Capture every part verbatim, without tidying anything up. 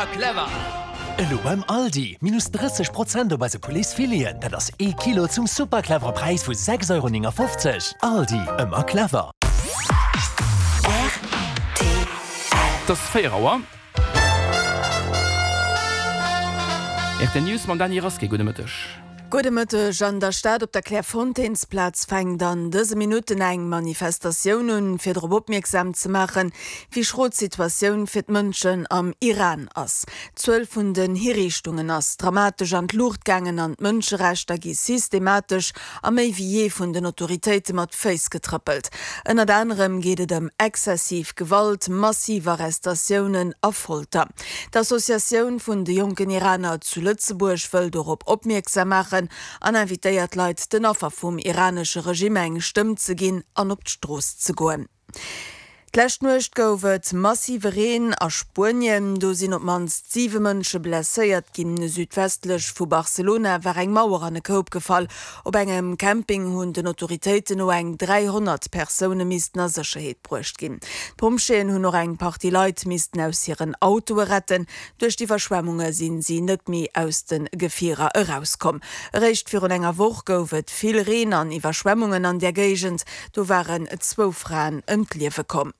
Ëmmer clever! Elo beim Aldi, minus drësseg Prozent op eise Pouletsfileten, dat ass ee Kilo zum super clevere Präis vu sechs Euro néngafofzeg. Aldi, ëmmer clever! Rtl. Et ass véier Auer. Rtl News mam Dany Rasqué. Gudde Mëtteg. Gudde Mëtteg. An der Stad op der Clairefontainesplaz fänkt an dëse Minutten eng Manifestatioun un, fir drop opmierksam ze maachen, wéi schro d'Situatioun fir d'Mënschen am Iran ass. D'Zuel vun den Hiriichtungen ass dramatesch an d'Luucht gaangen an d'Mënscherechter gi systematesch a méi wéi jee vun den Autoritéite mat Féiss getrëppelt. Ënnert anerem geet et ëm exzessiv Gewalt, massiv Arrestatiounen a Folter. D'Associatioun vun de jonken Iraner zu Lëtzebuerg wëll dorop opmierksam maachen an invitéiert d'Leit, den Affer vum iranesche Regime eng Stëmm ze ginn an op d'Strooss ze goen. D'lescht Nuecht gouf et massive Reen a Spuenien. Do sinn op d'mannst siwe Mënsche blesséiert ginn. Südwestlech vu Barcelona war eng Mauer an e Koup gefall. Op engem Camping hunn den Autoritéiten no eng dräihonnert Persoune missten a Sécherheet bruecht ginn. D'Pompjeeën hunn och eng Partie Leit missten aus hiren Autoe retten. Duerch d'Iwwerschwemmunge sinn si net méi aus de Gefierer erauskomm. Eréischt virun enger Woch gouf et vill Reen an Iwwerschwemmungen an där Géigend. Do waren zwou Fraen ëm d'Liewe komm.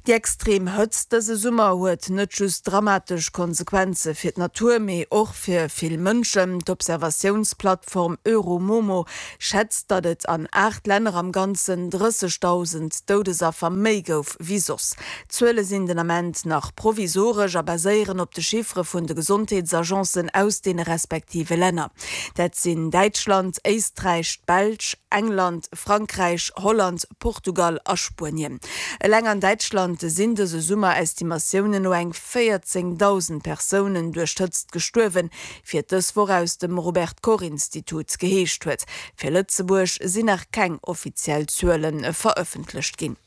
Déi extrem Hëtzt dëse Summer huet net just dramatesch Konsequenze fir d'Natur, mee och fir vill Mënschen. D'Observatiounsplattform Euromomo schätzt, datt et an aacht Länner am Ganzen drëssegdausend Doudesaffer méi gouf wéi soss. D'Zuele sinn den Ament nach provisoresch a baséieren op de Chiffere vun de Gesondheetsagencen aus deene respektive Länner. Dat sinn Däitschland, Éisträich, d'Belsch, England, Frankräich, Holland, Portugal a Spuenien. Eleng an Däitschland sinn dëse Summer Estimatiounen no eng véierzéngdausend Persounen duerch d'Hëtzt gestuerwen, wéi et dës Woch aus dem Robert Koch Institut geheescht huet. Fir Lëtzebuerg sinn nach keng offiziell Zuele verëffentlecht ginn.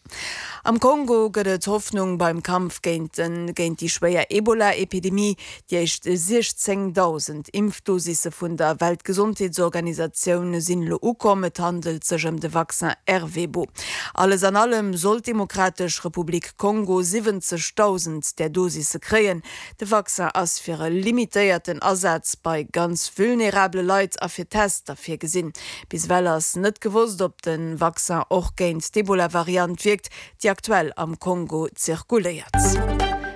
Am Kongo gëtt et Hoffnung beim Kampf géint géint déi schwéier Ebola-Epidemie. Déi éischt siechzéngdausend Impfdosisse vun der Weltgesondheetsorganisatioun sinn elo ukomm. Et handelt sech ëm de Vaccin Ervebo. Alles an allem soll d'Demokratesch Republik Kongo siwwenzegdausend där Dosisse kréien. De Vaccin ass fir e limitéierten Asaz bei ganz vulnerabele Leit a fir Tester virgesinn. Bis ewell ass net gewosst, ob de Vaccin och géint d'Ebola-Variant wierkt, déi aktuell am Kongo zirkuléiert.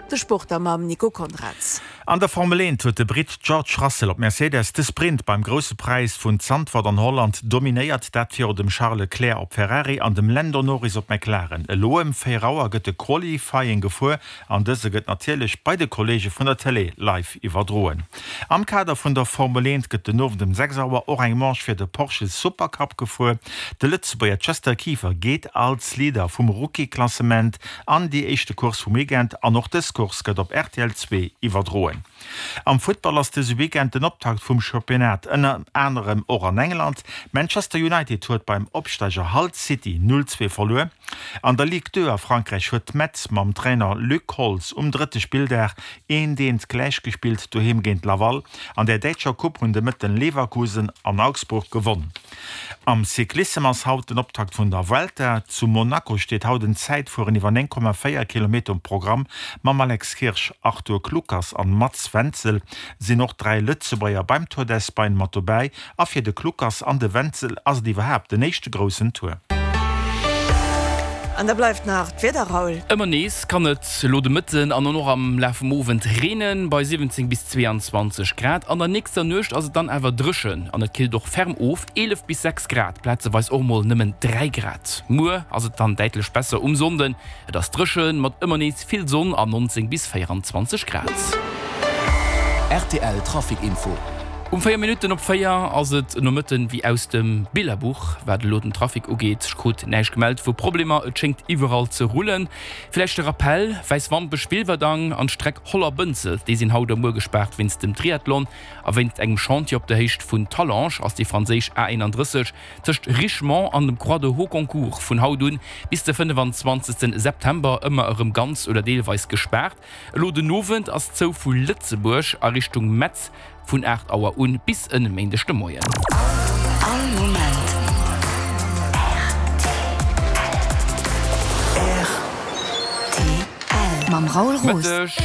De Sport da mam Nico Conrads. An der Formel eent huet de Britt George Russell op Mercedes de Sprint beim Grousse Präis vun Zandvoort an Holland dominéiert, dat viru dem Charles Leclerc op Ferrari an dem Lando Norris op McLaren. Elo ëm véier Auer gëtt de Qualifying gefuer an dëse gëtt natierlech bei de Kolleege vun der Tëlee live iwwerdroen. Am Kader vun der Formel eent gëtt den Owend ëm sechs Auer och eng Manche fir de Porsche Supercup gefuer. De Lëtzebuerger Chester Kieffer geet als Leader vum Rookie-Klassement an déi éischte Course vum Weekend an och dës Course gëtt op rtl zwee iwwerdroen. Am Futtball ass dëse Weekend den Optakt vum Championnat, ënner anerem och an England. Manchester United huet beim Opsteiger Hull City null zwee verluer. An der Ligue deux a Frankräich huet Metz mam Trainer Luc Holtz um drëtte Spilldag eent eent gläichgespillt doheem géint Laval. An der däitscher Coupe hunn de Mëtten Leverkusen an Augsburg gewonn. Am Cyclissem ass haut den Optakt vun der Vuelta. Zu Monaco steet haut en Zäitfueren iwwer néng Komma véier Kilometer um Programm. Mam Alex Kirsch, Arthur Kluckers an Mats Wenzel sinn och dräi Lëtzebuerger beim Tour d'Espagne mat dobäi. A fir de Kluckers an de Wenzel ass et iwwerhaapt den éischte groussen Tour. An da bleift nach d'Wieder, Raoul. Ëmmer nees kann et elo de Mëtten an och am Laf vum Owend reenen, bei siwwenzéng bis zweeanzwanzeg Grad. An der nächster Nuecht ass et dann awer dréchen an et killt och ferm of, eelef bis sechs Grad, plazeweis och mol nëmmen dräi Grad. Muer ass et dann däitlech besser um Sonnden, et ass dréchen mat ëmmer nees vill Sonn an nonzéng bis véieranzwanzeg Grad. Rtl Trafic Info. Um véier Minutten op véier ass et Nomëtten wéi aus dem Billerbuch, wat elo den Trafic ugeet. Ech krut näischt gemellt vu Problemer, et schéngt iwwerall ze rullen. Villäicht de Rappel, Wäiswampech, Wilwerdang an d'Streck Holler-Bënzel, déi sinn haut a muer gespaart wéinst dem Triathlon. A wéinst engem Chantier op der Héicht vun Talange ass déi franséisch A eenandrësseg tëscht Richemont an dem Croix de Hauconcourt vun haut un bis de fënnefenzwanzegsten September ëmmer erëm ganz oder deelweis gespaart. Elo den Owend ass zou vu Lëtzebuerg a Richtung Metz vun aacht Auer un bis en Méindeg de Moien. All Moment rtl. Mam Raoul Roos. Mëtteg.